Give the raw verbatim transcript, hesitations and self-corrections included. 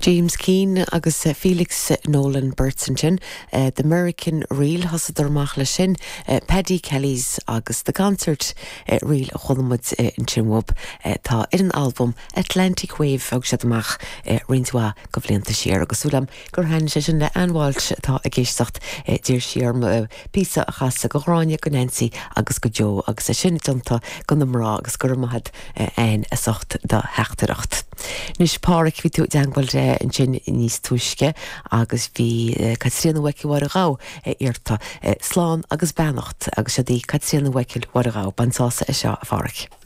James Keane agus Felix Nolan beirt ansin, The American Reel thosaíodar amach leis sin, Paddy Kelly's agus The Concert Reel a chuala muid ansin uathub atá ar an albam Atlantic Wave a thug siad amach roinnt mhaith de bhlianta siar agus súil agam gur thaitin sé sin le Ann Walsh atá ag éisteacht d'iarr sí orm píosa a chasadh do Ghráinne go Nancy agus go Joe agus é sin déanta do na mná agus go raibh maith agat Ann as ucht do theachtaireacht. Anois Pádraic bhí tú i dteagmháil ansin níos túisce agus bhí Caitríona Mhichael Mháire Ghabha iarrta slán agus beannacht agus seo í Caitríona Mhichael Mháire Ghabha bain sásamh as seo a Phádraic.